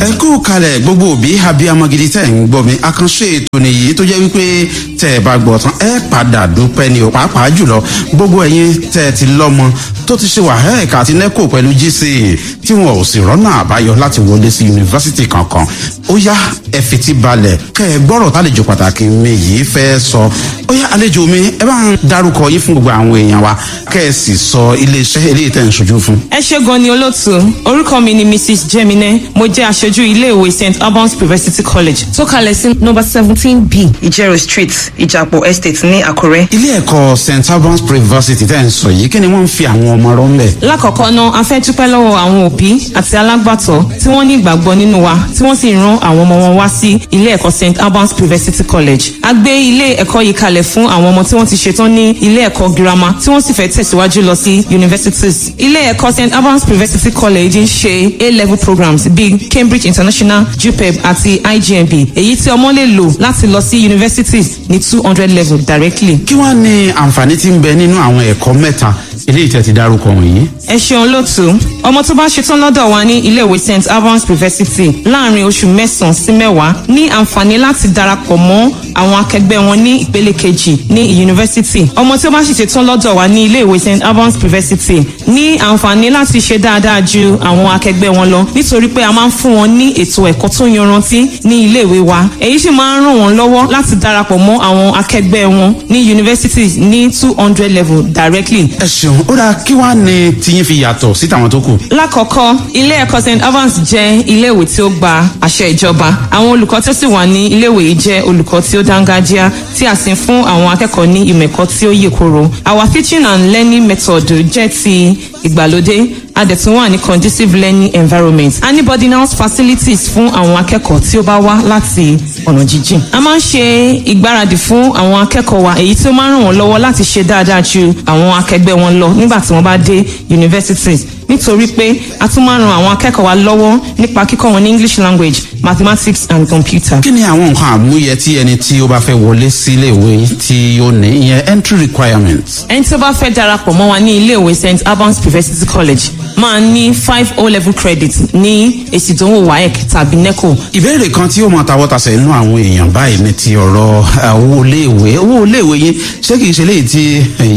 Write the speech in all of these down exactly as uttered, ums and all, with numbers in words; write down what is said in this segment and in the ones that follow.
Ẹ kú kalẹ̀, gbogbo òbí abiyamọ gidi tẹ̀ ń gbọ́ mi. Àkànṣe ètò nìyí tó jẹ́ wípé tẹ̀ ẹ bá gbọ́ tán, ẹ padà dúpẹ́ ni o. Pàápàá jùlọ gbogbo ẹ̀yin tẹ̀ ẹ ti lọ́mọ tó ti ṣe WAEC àti NECO pẹ̀lú G C E tí wọn ò sì rọ́nà àbáyọ láti wọlé sí yunifásitì kankan, ó yá, ẹ fetí balẹ̀ kẹ́ ẹ gbọ́rọ̀ tálejò pàtàkì mi yìí fẹ́ sọ. Ó yá, àlejò mi, ẹ bá ń dárúkọ yín fún gbogbo àwọn èèyàn wa, kẹ́ ẹ sì sọ iléeṣẹ́ eléyìí tẹ̀ ń ṣojú fún. Ẹ ṣé gan ni, olóòtú. Orúkọ mi ni Missus Jemine. Mo jẹ́ aṣojú iléèwé Saint Albans University College tó kalẹ̀ sí number seventeen B, Ìjẹ̀rò Street, Ìjàpọ̀ Estate ní Àkúrẹ́. Ilé ẹ̀kọ́ Saint Albans University tẹ̀ ń sọ yìí, kí ni wọ́n ń fi àwọn ọmọ rọ́ ń bẹ̀? Lákọ̀ọ́kọ́ náà, a fẹ́ dúpẹ́ lọ́wọ́ àwọn òbí àti alágbàtọ́ tí wọ́n ní ìgbàgbọ́ nínú wa, tí wọ́n sì rán àwọn ọmọ wọn wá sí ilé ẹ̀kọ́ Saint Albans University College. A gbé ilé ẹ̀kọ́ yìí kalẹ̀ fún àwọn ọmọ tí wọ́n ti ṣetán ní ilé ẹ̀kọ́ girama tí wọ́n sì fẹ́ tẹ̀síwájú lọ sí universities. Ilé ẹ̀kọ́ Saint Albans University College ń ṣe A-level programs bíi Cambridge International, JUPEB àti I J M B, èyí tí ọmọ lè lò láti lọ sí universities ní two hundred level directly. Kí wàá ní àǹfààní tí ń bẹ nínú àwọn ẹ̀kọ́ mẹ́ta eléyìí tẹ́ ti dárúkọ wọ̀nyí? Ẹ ṣeun, lótú. Ọmọ tó bá ṣetán lọ́dọ̀ wa ní iléèwé Saint Albans University láàrin oṣù mẹ́sàn-án sí mẹ́wàá ní àǹfààní láti darapọ̀ mọ́ àwọn akẹgbẹ́ wọn ní ìpele kejì ní yunifásitì. Ọmọ tí ó bá sì ṣetán lọ́dọ̀ wa ní iléèwé Saint Albans University ní àǹfààní láti ṣe dáadáa ju àwọn akẹgbẹ́ wọn lọ, nítorí pé a máa ń fún wọn ní ètò ẹ̀kọ́ tó yanrantí ní iléèwé wa. Èyí sì máa ń ràn wọ́n lọ́wọ́ láti darapọ̀ mọ́ àwọn akẹgbẹ́ wọn ní yunifásitì ní two hundred level directly. Ẹ ṣeun. Ó dáa, kí wàá ní tiyín fi yàtọ̀ sí tàwọn tó kù? Lákọ̀ọ́kọ́, ilé ẹ̀kọ́ Saint Evans jẹ́ iléèwé tí ó gba àṣẹ ìjọba. Àwọn olùkọ́ tí ó sì wà ní iléèwé yìí jẹ́ olùkọ́ tí ó dángájíá, tí a sì ń fún àwọn akẹ́kọ̀ọ́ ní ìmọ̀ ẹ̀kọ́ tí ó yè koro. Our teaching and learning method jẹ́ ti ìgbàlódé. A dẹ̀ tún wà ní conducive learning environment. A ní boarding house facilities fún àwọn akẹ́kọ̀ọ́ tí ó bá wá láti ọ̀nà jíjìn. A máa ń ṣe ìgbáradì fún àwọn akẹ́kọ̀ọ́ wa, èyí tí ó máa ń ràn wọ́n lọ́wọ́ láti ṣe dáadáa ju àwọn akẹgbẹ́ wọn lọ nígbà tí wọ́n bá dé universities, nítorí pé a tún máa ń ran àwọn akẹ́kọ̀ọ́ wa lọ́wọ́ nípa kíkọ́ wọn ní English language, mathematics and computer. Kí ni àwọn nǹkan àmúyẹ tí ẹni tí ó bá fẹ́ wọlé sí iléèwé tí ó ní, ìyẹn entry requirements? Ẹni tí ó bá fẹ́ darapọ̀ mọ́ wa ní iléèwé Saint Albans University College máa ní five O level credit ní èsì ìdánwò WAEC tàbí NECO. Ìbéèrè kan tí ó máa tawọ́ tasẹ̀ inú àwọn èèyàn báyìí ní ti ọ̀rọ̀ owó iléèwé. Owó iléèwé yín, ṣé kìí ṣe léyìí tí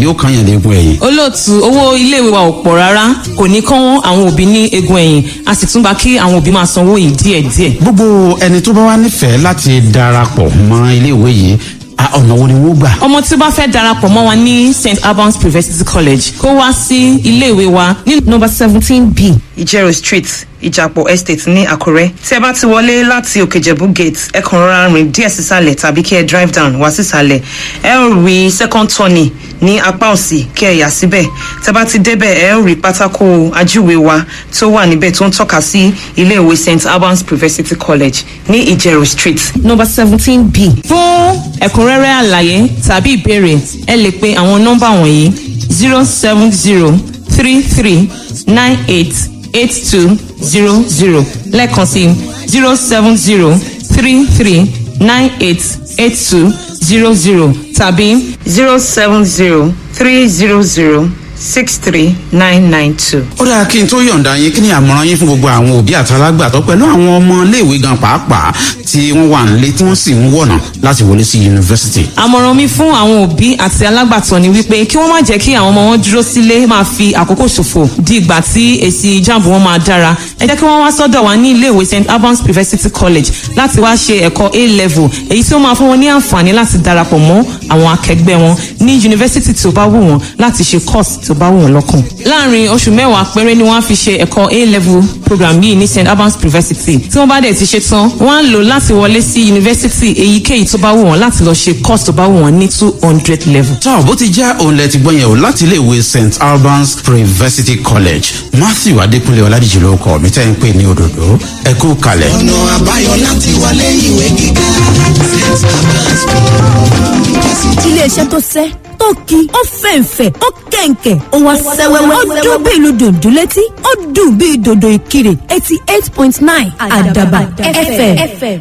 yóò kàn yàn léegun ẹ̀yìn? Olóòtú, owó iléèwé wa ò pọ̀ rárá. Kò ní kán àwọn òbí ní egun ẹ̀yìn. A sì tún gba kí àwọn òbí máa sanwó yìí díẹ̀díẹ̀. Gbogbo ẹni tó bá wá nífẹ̀ẹ́ láti darapọ̀ mọ́ iléèwé yìí, ọ̀nà wo ni wọ́n gbà? Ọmọ tí ó bá fẹ́ darapọ̀ mọ́ wa ní Saint Albans University College, kó wá sí iléèwé wa ní number seventeen B, Ìjẹ̀rò Street, Ìjàpọ̀ Estate ní Àkúrẹ́. Tí ẹ bá ti wọlé láti Òkèjẹ̀bú gate, ẹ kàn rọra rìn díẹ̀ sísàlẹ̀ tàbí kí ẹ drive down wá sísàlẹ̀. Ẹ ó rí second turning ní apá òsì, kí ẹ yà síbẹ̀. Tẹ bá ti débẹ̀, ẹ ó rí pátákó ajúwe wa tó wà níbẹ̀ tó ń tọ́ka sí iléèwé Saint Albans University College ní Ìjẹ̀rò Street, number seventeen B. Fún ẹ̀kúnrẹ́rẹ́ àlàyé tàbí ìbéèrè, ẹ lè pe àwọn nọ́mbà wọ̀nyí: zero seven zero three three nine eight eight two zero zero. Lẹ́ẹ̀kan sí, zero seven zero three three nine eight eight two zero zero tàbí zero seven zero three zero zero six three nine nine two. Ó dáa, kí n tó yọ̀ǹda yín, kí ni àmọ̀ràn yín fún gbogbo àwọn òbí àtàlágbàtọ́ pẹ̀lú àwọn ọmọ iléèwé gan pàápàá tí wọ́n wà nílé tí wọ́n sì ń wọ̀nà láti wọlé sí yunifásitì? Àmọ̀ràn mi fún àwọn òbí àti alágbàtọ́ ni wípé kí wọ́n má jẹ́ kí àwọn ọmọ wọn dúró sílé máa fi àkókò ṣòfò di ìgbà tí èsì JAMB wọn máa dára. Ẹ jẹ́ kí wọ́n wá sọ́dọ̀ wa ní iléèwé Saint Albans University College láti wá ṣe ẹ̀kọ́ A level, èyí tí ó máa fún wọn ní àǹfààní láti darapọ̀ mọ́ àwọn akẹgbẹ́ wọn ní yunifásitì tí ó bá wù wọ́n láti ṣe course tí ó bá wù wọ́n lọ́kàn. Láàárín oṣù mẹ́wàá péré ni wọ́n á fi ṣe ẹ̀kọ́ A level program yìí ní Saint Albans University. Tí wọ́n bá dẹ̀ ti ṣe tán, wọ́n á lò láti wọlé sí yunifásitì èyíkéyìí tó bá wù wọ́n láti lọ ṣe course tó bá wù wọ́n ní two hundred level. Tọ́ bó ti jẹ́ òun lẹ ti gbọ́ yẹn o láti iléèwé Saint Albans University College. Matthew Adékúnlé Ọládìjì ló kọ mi tẹ́ ń pè ní òdòdó. Ẹ kú kalẹ̀. Ọ̀nà àbáyọ láti wọlé ìwé gíga, Saint Albans University. Iléeṣẹ́ tó sẹ́ tó ki, ó fẹ̀ǹfẹ̀, ó kẹ̀ǹkẹ̀, ó wá sẹ́wẹ́wẹ́, ó dún bí ìlú dòdò létí, ó dùn bí dòdò ìkirè. eighty eight point nine Àdàbà F M.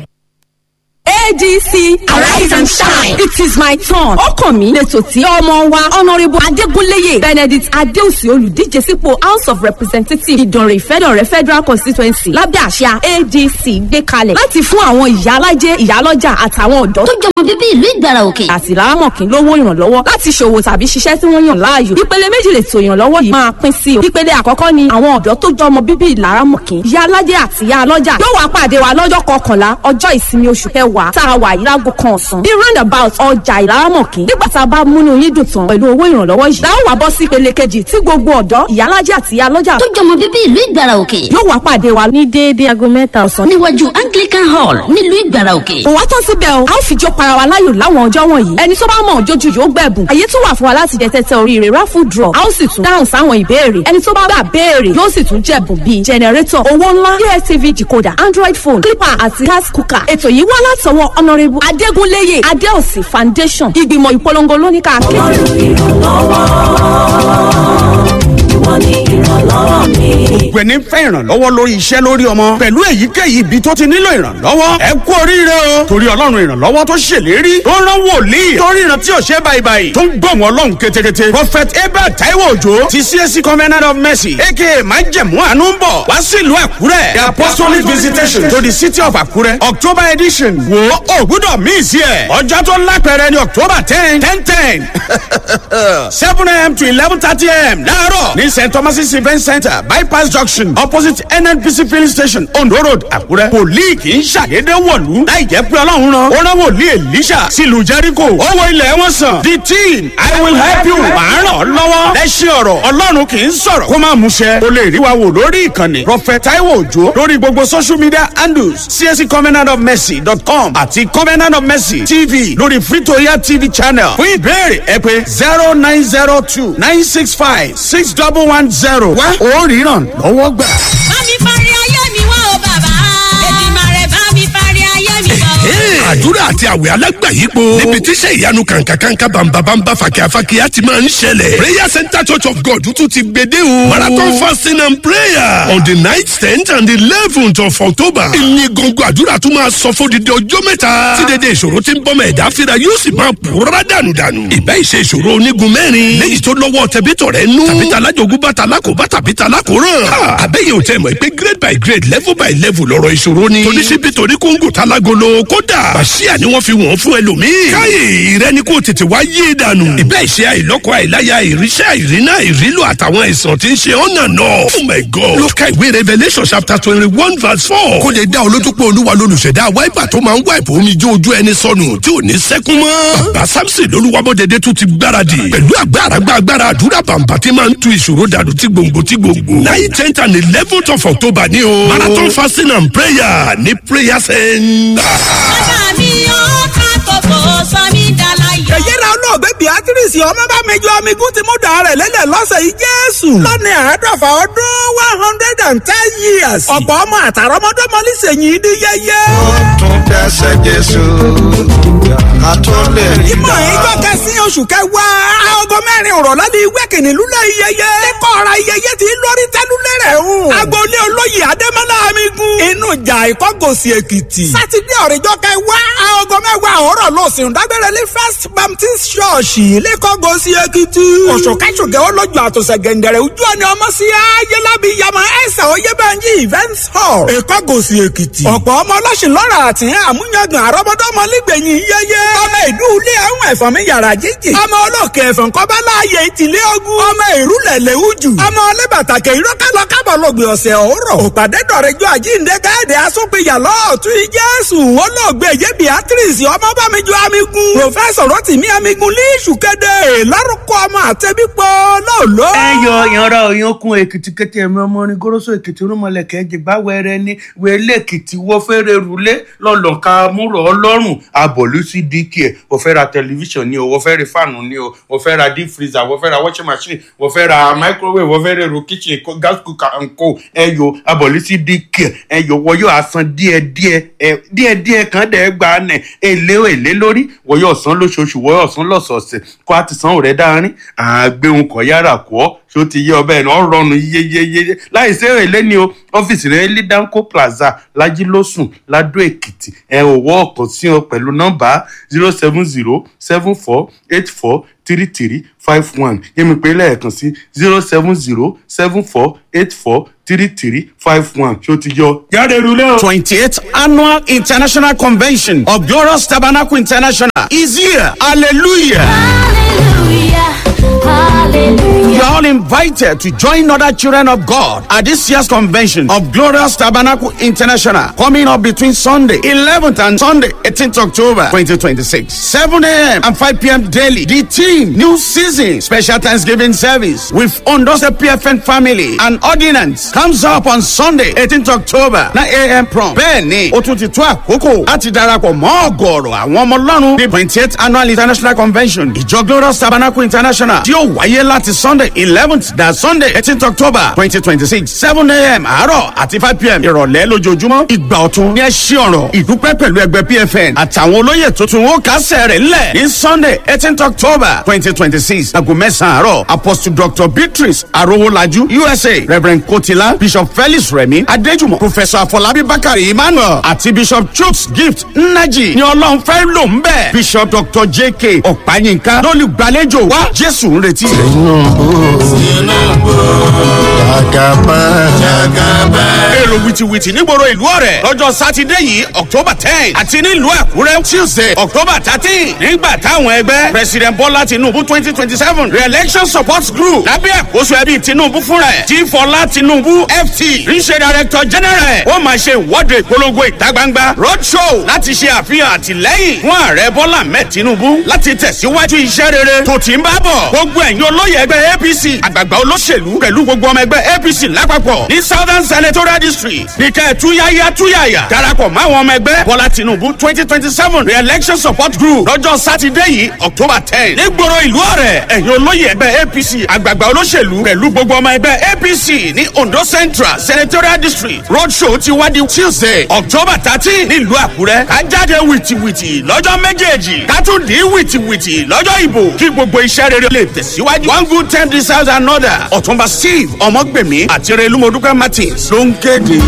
A D C, arise and shine. It is my turn. Ó kàn mí lẹ́tọ̀ tí ọmọ wa, Honourable Adégúnléyè Benedict Adéòsì, olùdíje sípò House of Representatives, Ìdànrè Ìfẹ́dọ̀rẹ́ Federal Constituency, lábẹ́ àṣà A D C gbé kalẹ̀ láti fún àwọn ìyá alájẹ, ìyálọ́jà àtàwọn ọ̀dọ́ tó jọmọ bíbí ìlú Ìgbàrà Òkè àti Ìlaramọ̀kín lówó ìrànlọ́wọ́ láti ṣòwò tàbí ṣiṣẹ́ tí wọ́n yàn láàyò. Ìpele méjì lè tò ìrànlọ́wọ́ yìí máa pín sí o. Ìpele àkọ́kọ́ ni àwọn ọ̀dọ́ tó jọmọ bíbí Ìlaramọ̀kín, ìyá alájẹ àti ìyá alọ́jà yóò wá pàdé wa lọ́jọ́ kọkànlá, ọjọ́ ìsinmi, oṣù kẹwàá tá a wà yìí, láago kan ọ̀sán ní roundabout ọjà Ìlaramọ̀kín. Nígbà tá a bá múnú yín dùn tán pẹ̀lú owó ìrànlọ́wọ́ yìí, láwọn wá bọ́ sí ìpele kejì tí gbogbo ọ̀dọ́, ìyálájẹ àti ìyálọ́jà tó jọmọ bíbí ìlú Ìgbàrà Òkè yóò wá pàdé wa ní déédéé aago mẹ́ta ọ̀sán níwájú Anglican Hall nílùú Ìgbàrà Òkè. Kò wá tán síbẹ̀ o, a ó fi jó para wa láyò láwọn ọjọ́ wọ̀nyí. Ẹni tó bá mọ̀ jójú yóò gbẹ̀bùn. Àyè tún wà fún wa láti jẹ tẹ́tẹ́ oríire, raffle draw. A ó sì tún dáhùn sáwọn ìbéèrè. Ẹni tó bá gbà béèrè yóò sì tún jẹ̀bùn bíi generator, owó ńlá, D S T V decoder, Android phone, clipper àti gas cooker. Ètò yìí wá látọwọ́ Honourable Adégúnléyè Adéòsì Foundation. Ìgbìmọ̀ ìpolongo lóníkà kéde. Ìwọ ni ìrànlọ́wọ́ mi. Gbogbo ẹni fẹ́ ìrànlọ́wọ́ lórí iṣẹ́, lórí ọmọ, pẹ̀lú èyíkéyìí ibi tó ti nílò ìrànlọ́wọ́, ẹ kú oríire o, torí Ọlọ́run ìrànlọ́wọ́ tó ṣèlérí, tó rán wòlíì, tó ríran tí ò ṣe báyìí, tó ń gbọ̀n Ọlọ́run ketekete, Prophet Abel Taiwo Ojo ti C A C Covenant of Mercy, aka Májẹ̀mú Àánú, ń bọ̀ wá sílùú Àkúrẹ́. The Apostolic Visitation to the City of Àkúrẹ́, October edition. Wo, ò gbúdọ̀ miss ẹ̀. Ọjọ́ tó lápẹẹrẹ ní October ten ten ten, seven a m to eleven thirty a m láàárọ̀ ní Saint Thomas Event Center, Bypass Junction, opposite N N P C filling station, Ondo Road, Àkúrẹ́. Wòlíì kì í ṣàdédé wọ̀lú láì jẹ́ pé Ọlọ́run rán. Ó rán wòlíì Èlíṣà sílùú Jẹ́ríkò, ó wo ilẹ̀ wọn sàn. The team, "I will help you", màá ràn ọ́ lọ́wọ́. Lẹ́sìn ọ̀rọ̀ Ọlọ́run kì í sọ̀rọ̀ kó má múṣẹ. O lè rí wa wò lórí ìkànnì Prophet Taiwo Ojo lórí gbogbo social media handles, C A C covenant of mercy dot com àti Covenant of Mercy T V lórí Free to Air T V channel. Fún ìbéèrè, ẹ pè zero nine zero two nine six five six double one zero. Wá ó ríran lọ́wọ́ gbà. Bá mi parí ayé mi wá o bàbá. Èdìmàrè, bá mi parí ayé mi wá o. Àdúrà àti àwẹ̀ alágbàyípo níbi tíṣẹ́ ìyanu kàǹkàkàǹkà, bàǹbàbàǹbà, fàkíàfàkíà ti máa ń ṣẹlẹ̀. Prayer Center Church of God tún ti gbede o. Marathon fasting and prayer on the ninth, tenth and eleventh of October. Ìní gbọ̀ngàn àdúrà tún máa sọ fún odidi ọjọ́ mẹ́ta tí dédé ìṣòro tí ń bọ́mọ ẹ̀dá fira yóò sì máa pòórá dànùdànù. Ìbẹ́ ìṣe ìṣòro onígun mẹ́rin léyìí tó lọ́wọ́ tẹ̀bítọ̀ rẹ̀ nú, tàbí talájogún bá, talákòóbá tàbí talákòóràn. Àbẹ́yẹ̀ ò tẹ̀ mọ̀ pé grade by grade, level by level lọ́rọ̀ ìṣòro ni. Toníṣíbí, toní kóńgò, tálágolo, kódà bàṣíà ni wọ́n fi wọ́n fún ẹlòmíì. Káyè rẹ ni kò tètè wá yé dànù. Ìbẹ́ ìṣe àìlọ́kọ, àìláya, ìríṣẹ́, àìrínà, ìrílò àtàwọn àìsàn tí ń ṣe ọ̀nà náà. Oh my God! Ló ka ìwé Revelation chapter twenty one verse four. Kó lè dá olójú pé Olúwa lolùṣẹ̀dá wiper tó máa ń wipe omi jó ojú ẹni sọnù tí ò ní sẹ́kún mọ́. Bàbá Samson lolúwabọ̀dẹ̀dẹ̀ tún ti gbáradì pẹ̀lú agbára agbára àdúrà bàǹbà tí máa ń tu ìṣòro dànù tí gbòǹgbò tí gbòǹgbò. Nine, tenth and eleventh of October ní o. Marathon fasting and prayer ní prayer center. Bàbá mi ó ká kókó sọ mí dàláyọ̀. Èyí ra olóògbé Beatrice Ọmọbámijọ Amigun ti mú dà rẹ̀ lélẹ̀ lọ́sẹ̀ yìí Jésù. Lọ́ní àádọ́fà ọdún, one hundred and ten years. Ọ̀pọ̀ ọmọ àtàrọ́mọdọ́mọ nísìnyí ní yẹyẹ. Tún dẹ́sẹ̀ Jésù ká tó lè rí. Ìmọ̀ ìjọ kẹsí oṣù kẹwàá, aago mẹ́rin òrọ̀lẹ́ ní wẹ́kìnì lulẹ̀ iyẹyẹ. Lẹ́kọ̀ọ́ ọ̀ra iyẹyẹ ti lórí tẹ́lúlẹ̀ rẹ̀ o. Agboolé olóyè Adémọ́lá Amigun. Inú ìjà Ìkọ́gòsì Èkìtì. Sátidé ọ̀rẹ́jọ́ kẹwàá, aago mẹ́wàá òwúrọ̀ lọ́sìn dágbére ní First Baptist Church lẹ́kọ̀ọ́gòsì Èkìtì. Òṣùkẹ́sùkẹ́ olójú àtòsẹ̀ gẹ̀ǹdẹ̀rẹ̀ ojú ọ̀nà ọmọ sí ayélábí yamọ ẹ̀sà oyébẹ̀njì events hall, Ìkọ́gòsì Èkìtì. Ọ̀pọ̀ ọmọ ọlọ́sìn lọ́rọ̀ àti àmúyangàn àrọ́mọdọ́mọ nígbẹ̀yìn yẹyẹ. Ọmọ ìlú ilé àwọn ẹ̀fọn mi yàrá jíjì. Ọmọ olókè ẹ̀fọn kọ́bá láàyè ìtìlẹ̀ ogun. Ọmọ ìrúlẹ̀ lẹ́wùjù. Ọmọ ọlẹ́bàtàkẹ́ ìrọ́kàlọ́ kábọ̀ lọ́gbìn ọ̀sẹ̀ òwúrọ̀. Òpàdé dọ̀rẹ́jọ́ àjíǹde káyọ̀dé asúnpìyà lọ́ọ̀tún Jésù olóògbé yé Beatrice Ọmọbámijọ Amigun. Professor Rotimi Amigun líṣù kéde lárúkọ ọmọ àtẹbípọ̀ lọ́ọ̀lọ́. Ẹ yọ ìyanra òyìnkùn Èkìtì kété, ẹ̀mí ọmọ orin goroso Èkìtì, rúmọlẹ̀kẹ́ jìgbá wẹrẹ ní wẹlé Èkìtì wọ́ fẹ́rẹ̀ rúlé lọ́lọ́ka múrò ọlọ́run abọ̀lú sí D K. Wọ́n fẹ́ ra tẹlifíṣàn ni o, wọ́n fẹ́ ra fáànù ni o, wọ́n fẹ́ ra deep freezer, wọ́n fẹ́ ra washing machine, wọ́n fẹ́ ra microwave, wọ́n fẹ́ ra èrò kitchen, gas cooker and co. Ẹ yọ abọ̀lú sí D K. Ẹ yọ wọ́n yóò asan díẹ̀díẹ̀ ẹ díẹ̀díẹ̀ kan dẹ̀ gba nẹ̀ èlé èlé lórí. Wọ́n yóò san lóṣooṣù, wọ́n yóò san lọ́sọ̀ọ̀sẹ̀ kó a ti san òrẹ́ dáárín àgbéhùn kọ̀ yára kọ́. Ṣó ti yé ọbẹ̀ náà rọrùn yeyeyeye láì sí èrè lẹ́ni o. Ọ́fíìsì rẹ̀ ní Danco Plaza, Lajilósùn, Ladó Èkìtì. Ẹ ò wọ́ ọ̀kan sí ọ pẹ̀lú nọ́mbà zero seven zero seven four eight four three three five one. Yẹ́mi pé lẹ́ẹ̀kan sí zero seven zero seven four eight four three three five one. Ṣó ti yọ jáde rúlé o. twenty-eighth Annual International Convention of Glorious Tabernacle International is here. Hallelujah. Hallelujah, hallelujah. You are all invited to join other children of God at this year's convention of Glorious Tabernacle International, coming up between Sunday eleventh and Sunday eighteenth October twenty twenty-six, seven a m and five p m daily. The team, New Season Special Thanksgiving Service with Ondo State P F N Family and Ordinance comes up on Sunday eighteenth October, nine a m prompt. Bẹ́ẹ̀ni, ó tún ti tó àkókò láti darapọ̀ mọ́ ọ̀gọ̀ọ̀rọ̀ àwọn ọmọ Ọlọ́run ní twenty-eighth Annual International Convention Ìjọ Glorious Tabernacle International tí yóò wáyé láti Sunday eleventh da Sunday eighteenth October twenty twenty-six, seven a m àárọ̀ àti five p m ìrọ̀lẹ́ lójoojúmọ́. Ìgbà ọ̀tun ní ẹ ṣí ọ̀rọ̀ ìdúpẹ́ pẹ̀lú ẹgbẹ́ P F N àtàwọn olóyè tuntun ó kásẹ̀ rẹ̀ ńlẹ̀ ní Sunday eighteenth October twenty twenty-six, aago mẹ́sàn-án àárọ̀. Apostle Doctor Beatrice Arowolaju U S A, Reverend Kotila, Bishop Felix Remi Adejumo, Professor Afolabi Bakari Emmanuel àti Bishop Chuks Gift Nnaji ni Ọlọ́run fẹ́ lò ń bẹ̀. Bishop Doctor J K Ọ̀páyínká lólùgbàlejò wá. Jésù ń retí rẹ̀. Jagaba. Èrò wìtìwìtì nígboro ìlú Ọ̀rẹ́ lọ́jọ́ Sátidé yìí, October ten, àti nílùú Àkúrẹ́, Tuesday, October thirteen, nígbà táwọn ẹgbẹ́ President Bọ́lá Tinubu twenty twenty seven re-election support group lábẹ́ àkóso ẹbí Tinubu fúnra ẹ̀ tí Fọlá Tinubu F T ń ṣe director general ẹ̀, ó máa ṣe ìwọ́de ìpolongo ìta gbangba, road show, láti ṣe àfihàn àtìlẹ́yìn fún Ààrẹ Bọ́lá Ahmed Tinubu láti tẹ̀síwájú iṣẹ́ rere tó ti ń bá bọ̀. Gbogbo ẹ̀yin olóyè ẹgbẹ́ A P C, àgbààgbà olóṣèlú pẹ̀lú gbogbo ọmọ ẹgbẹ́ A P C lápapọ̀ ní Southern Senatorial District nìkẹ́ túyáyá túyàyà darapọ̀ máwọn ọmọ ẹgbẹ́ Bọ́lá Tinubu twenty twenty seven re-election support group lọ́jọ́ Sátidé yìí, October ten, nígboro ìlú Ọ̀rẹ́. Ẹ̀yin olóyè ẹgbẹ́ A P C, àgbààgbà olóṣèlú pẹ̀lú gbogbo ọmọ ẹgbẹ́ A P C ní Ondo Central Senatorial District, road show ti wá di Tuesday, October thirteen, nílùú Àkúrẹ́. Ká jáde wìtìwìtì lọ́jọ́ méjèèjì, ká tún dín wìtìwìtì lọ́jọ́ ìbò kí gbogbo iṣẹ́ rere lè tẹ̀síwájú. One good ten deserves another. Ọ̀túnba Steve Ọmọgbèmí àti Relúmọdúkẹ́ Martins ló ń kéde.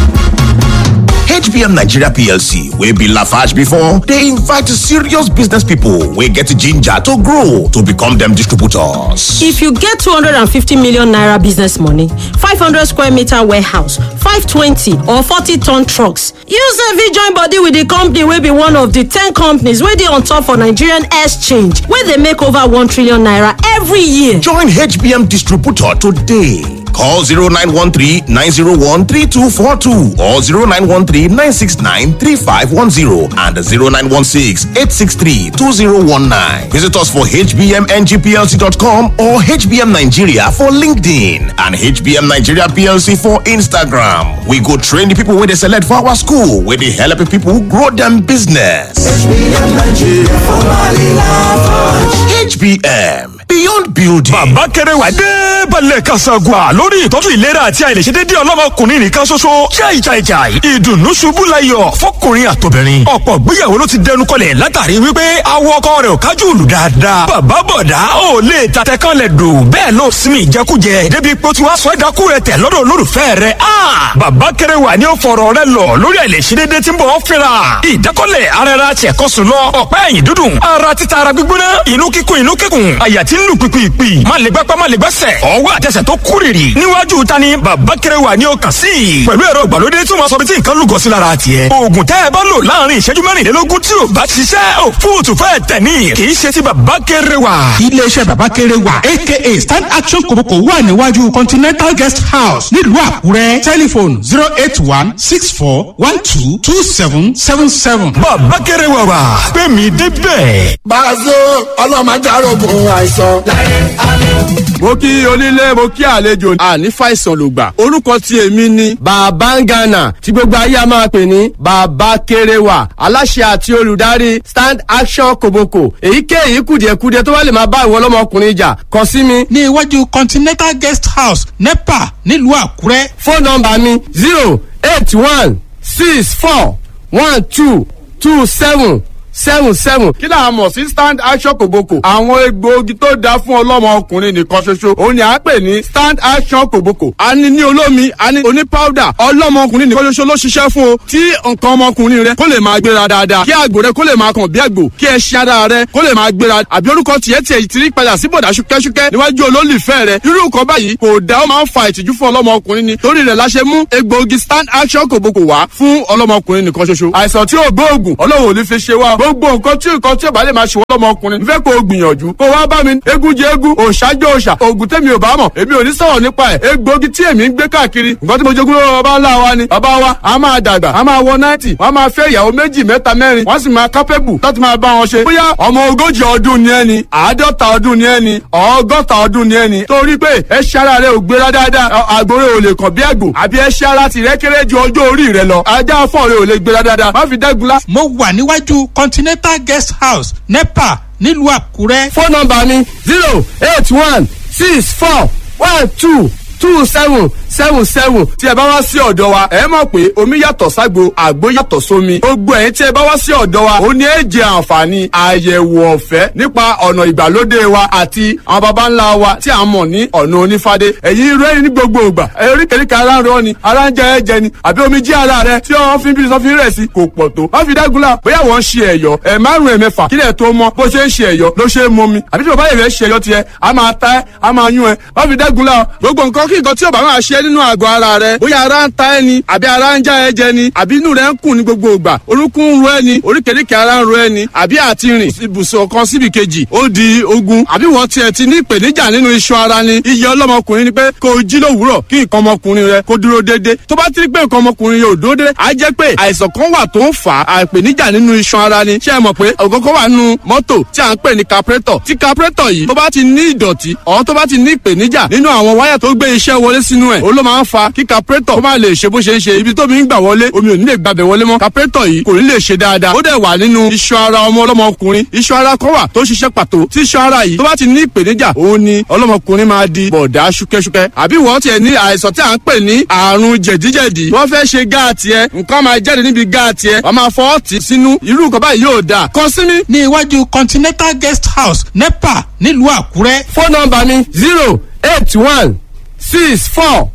H B M Nigeria P L C wey be Lafarge before, dey invite serious business people wey get ginger to grow to become dem distributors. If you get two hundred fifty million naira business money, five hundred square meter warehouse, five hundred twenty or forty ton trucks, you sef fit join body with the company wey be one of the ten companies wey dey on top for Nigerian Exchange, wey dey make over one trillion naira every year. Join H B M distributor today. Call zero nine one three nine zero one three two four two or zero nine one three nine six nine three five one zero and zero nine one six eight six three two zero one nine. Visit us for H B M N G P L C dot com or H B M Nigeria for LinkedIn and H B M Nigeria P L C for Instagram. We go train the people wey dey select for our school, wey dey help people grow them business. H B M Nigeria, formerly Lafarge. H B M, beyond building. Bàbá Kẹrẹwà dé balẹ̀ kasagua lórí ìtọ́jú ìlera àti àìlèṣedédé ọlọ́mọkùnrin nìkan ṣoṣo. Jai jai jai, ìdùnnú ṣubú layọ̀ fọkùnrin àtobìnrin. Ọ̀pọ̀ gbéyàwó ló ti dẹnu kọlẹ̀ látàrí wípé awọ ọkọ rẹ̀ ò kájú ìlú dáadáa. Bàbá bọ̀dá ò lè ta tẹkànlẹ̀ dò, bẹ́ẹ̀ ló sinmi ìjẹkújẹ débi pé ó ti wá sọ ẹ̀dákú rẹ̀ tẹ̀ lọ́dọ̀ olólùfẹ́ rẹ̀. A bàbá Kẹrẹwà ni ó fọ̀rọ̀ rẹ̀ lọ lórí àìlèṣedédé tí ń bọ̀ fínra. Ìdákọ́lẹ̀ ara ẹra ṣẹ̀kọ́sùn lọ, ọ̀pá ẹ̀yìn dúdùn, ara títa, ara gbígbóná, inú kíkún, inú kíkún, àyà tí ń lù pìpìpì, má lè gbápá, má lè gbẹ́sẹ̀, ọwọ́ àtẹsẹ̀ tó kúrìrì. Níwájú ta ni Bàbá Kẹrẹwà ni ó kàn sí pẹ̀lú ẹ̀rọ ìgbàlódé tí wọ́n sọ bí tí nǹkan lúgọ sí lára tiẹ̀. Oògùn tẹ́ ẹ bá lò láàrin ìṣẹ́jú mẹ́rìnlélógún tí ò bá ṣiṣẹ́, òfúùtù fẹ́ tẹ̀ ní, kì í ṣe ti Bàbá Kẹrẹwà. Iléeṣẹ́ Bàbá Kẹrẹwà aka Stand Action Kòbókò wà níwájú Continental Guest House nílùú Àkúrẹ́. Tẹlifon zero eight one six four one two two seven seven seven. Bàbá Kẹrẹwà wà pé mi débẹ̀. Bàzó ọlọ́mọdé arógun àìsàn. Láyé àmì. Mo kí onílé, mo kí àlejò, àní fàìsàn ló gbà. Orúkọ tí èmi ni Bàbá Ngana, tí gbogbo ayé a máa pè ní Bàbá Kéréwà, aláṣẹ àti olùdarí Stand Action Koboko. Èyíkéyìí kùdìẹ̀kudiẹ tó bá lè máa bá ìwọ ọlọ́mọkùnrin jà, kàn sí mi. Ní iwájú Continental Guest House, NEPA, nílùú Àkúrẹ́. Fóònù nọ́mbà mi zero eight one six four one two two seven seven seven. Kí là á mọ̀ sí Stand Action Kòbókò? Àwọn egbòogi tó dáa fún ọlọ́mọ ọkùnrin nìkan ṣoṣo òun ni à ń pè ní Stand Action Kòbókò. A ní ní olómi, a ní oní powder. Ọlọ́mọ ọkùnrin nìkan ṣoṣo ló ṣiṣẹ́ fún o, tí nǹkan ọmọkùnrin rẹ kó lè máa gbéra dáadáa, kí àgbò rẹ kó lè máa kàn bí àgbò, kí ẹṣin ara rẹ kó lè máa gbéra, àbí orúkọ tiẹ̀ tiẹ̀ ti rí padà sí bọ̀dà ṣúkẹ́ṣúkẹ́ níwájú olólùfẹ́ rẹ. Irú nǹkan báyìí kò dá, ó máa ń fa ìtìjú fún ọlọ́mọkùnrin ni. Torí rẹ̀ la ṣe mú egbòogi Stand Action Kòbókò wá fún ọlọ́mọkùnrin nìkan ṣoṣo. Àìsàn tí ò gbóògùn, Ọlọ́run ò ní fi ṣe wá. Gbogbo nǹkan tí nǹkan tí ò bá lè máa ṣe wọ́n lọ́mọkùnrin, n fẹ́ kó o gbìyànjú kó wá bá mi. Eégún jẹ eégún, òòṣà jẹ òòṣà, òògùn tèmi ò bá mọ̀, èmi ò ní sọ̀rọ̀ nípa ẹ̀. Egbòogi tí èmi ń gbé káàkiri, nǹkan tí mo jogún lọ́wọ́ bàbá ńlá wa ni. Bàbá wa a máa dàgbà, a máa wọ náìtì, wọ́n máa fẹ́ ìyàwó méjì, mẹ́ta, mẹ́rin, wọ́n sì máa kápẹ́bù láti máa bá wọn ṣe. Bóyá ọmọ ogójì ọdún ni ẹni, àádọ́ta ọdún ni ẹni, ọgọ́ta ọdún ni ẹni, torí pé ẹṣin ara rẹ ò gbéra dáadáa, àgbòrè ò lè kàn bí àgbò, àbí ẹṣin ara tìrẹ kéré ju ọjọ́ orí rẹ lọ, ajá fọ́ọ̀rẹ́ ò lè gbéra dáadáa, má fi dẹ́gun lá. Mo wà níwájú Continental Guest House, NEPA, nílùú Àkúrẹ́. Fóònù nọ́mbà mi zero eight one six four one two two seven seven seven. Tí ẹ bá wá sí ọ̀dọ̀ wa, ẹ mọ̀ pé omi yàtọ̀ ságbo, àgbo yàtọ̀ sómi. Gbogbo ẹ̀yin tí ẹ bá wá sí ọ̀dọ̀ wa, ó ní èjì àǹfààní àyẹ̀wò ọ̀fẹ́ nípa ọ̀nà ìgbàlódé wa àti àwọn baba ńlá wa tí a mọ̀ ní ọ̀nà onífádé. Ẹ̀yin rẹ́rìn ní gbogbo ìgbà, oríkèéríkèé ara ń rọ ni, ara ń jẹ ẹ̀jẹ̀ ni, àbí omi jí ara rẹ tí wọ́n fi ń bí sọ́fin rẹ̀ sí kò pọ̀ tó. Wọ́n fi dágunlá bóyá wọ́n ń ṣe ẹ̀yọ́ ẹ̀ márùn-ún ẹ̀mẹ́fà kílẹ̀ tó mọ bó ṣe ń ṣe ẹ̀yọ́ ló ṣe é mọ mi, àbí tí bàbá yẹn fẹ́ ṣe ẹ̀yọ́ tiẹ̀, a máa ta ẹ́, a máa yún ẹ. Wọ́n fi dágunlá gbogbo nǹkan kí nǹkan tí ò bá máa ṣe nínú àgọ́ ara rẹ, bóyá ara ń ta ẹni, àbí ara ń já ẹ jẹ ni, àbí inú rẹ ń kùn ní gbogbo ìgbà, orúnkún ń ro ẹni, oríkèéríkèé ara ń ro ẹni, àbí àti rìn ibùsùn kan síbi kejì ó di ogun, àbí wọ́n tiẹ̀ ti ní ìpèníjà nínú iṣan ara ni. Iye ọlọ́mọkùnrin ni pé kó o jí lówùúrọ̀ kí nǹkan ọmọkùnrin rẹ kó dúró déédé. Tó bá ti rí pé nǹkan ọmọkùnrin yóò dúró déédé, á jẹ́ pé àìsàn kan wà tó ń fà á ìpèníjà nínú iṣan ara ni. Ṣé ẹ mọ̀ pé ògógó wà nínú mọ́tò tí à ń pè ní carburetor? Tí carburetor yìí tó bá ti ní ìdọ̀tí ọ̀, tó bá ti ní ìpèníjà nínú àwọn wáyà tó gbé iṣẹ́ wọlé sínú ẹ̀, ó ló máa ń fa kí carburetor kó má lè ṣe bó ṣe ń ṣe. Ibi tó mi ń gbà wọlé, omi ò ní lè gbàbẹ̀ wọlé mọ́, carburetor yìí kò ní lè ṣe dáadáa. Ó dẹ̀ wà nínú iṣan ara ọmọ ọlọ́mọkùnrin, iṣan ara kan wà tó ṣiṣẹ́ pàtó. Tí iṣan ara yìí tó bá ti ní ìpèníjà, òun ni ọlọ́mọkùnrin máa di bọ̀dá ṣúkẹ́ṣúkẹ́. Àbí wọ́n tiẹ̀ ní àìsàn tí à ń pè ní àrùn jẹ̀díjẹ̀dí, wọ́n fẹ́ ṣe gáàtì ẹ, nǹkan máa jáde níbi gáàtì ẹ, wọ́n máa fọwọ́ tì sínú, irú nǹkan báyìí yóò dáa. Kàn sí mi. Ní iwájú Continental Guest House, NEPA, nílùú Àkúrẹ́. Fóònù nọ́mbà mi zero eight one six four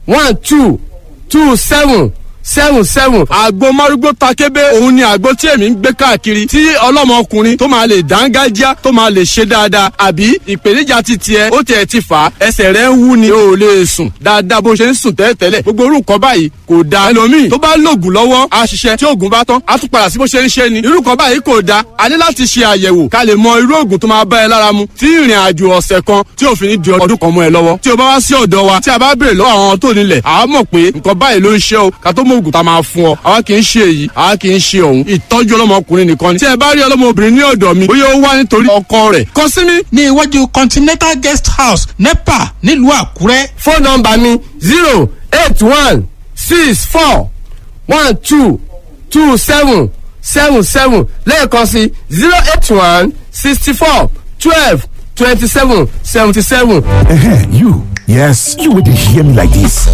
one two two seven seven seven. Àgbo márúgbó takébé òun ni àgbo tí èmi ń gbé káàkiri, tí ọlọ́mọkùnrin tó máa lè dángájá, tó máa lè ṣe dáadáa. Àbí ìpèníjà ti tiẹ̀ ó tiẹ̀ ti fà á, ẹsẹ̀ rẹ̀ ń wú ni, o ò lè sùn dáadáa bó ṣe ń sùn tẹ́lẹ̀tẹ́lẹ̀. Gbogbo orú nǹkan báyìí kò dáa. Ẹlòmíì tó bá lògùn lọ́wọ́ á ṣiṣẹ́, tí oògùn bá tán á tún padà sí bó ṣe ń ṣe ni. Irú nǹkan báyìí kò dáa. A ní láti ṣe àyẹ̀wò ká lè mọ irú oògùn tó máa bá ẹ lára mu, tí ìrìn àjò ọ̀sẹ̀ kan tí òfin ní di ọdún kan mọ́ ẹ lọ́wọ́. Tí o bá wá sí ọ̀dọ̀ wa, tí a bá béèrè lọ́wọ́ àwọn tó nílẹ̀, àá mọ̀ pé nǹkan báyìí ló ń ṣe o, ká tó mọ oògùn tá a máa fún ọ. Àwa kì í ṣe èyí, àwa kì í ṣe òun. Ìtọ́jú ọlọ́mọkùnrin nìkan ni. Tí ẹ bá rí ọlọ́mọbìnrin ní ọ̀dọ̀ mi, bóyá ó wá nítorí ọkọ rẹ̀, kàn sí mi. Ní iwájú Continental Guest House, NEPA, nílùú Àkúrẹ́. Fóònù nọ́mbà mi zero eight one six four one two two seven seven seven. Lẹ́ẹ̀kan sí zero eight one sixty four twelve twenty seven seventy seven. You. Yes, you would hear me like this.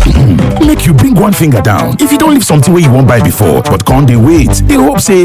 Make you bring one finger down. If you don't leave something where you won't buy before, but can't they wait? They hope say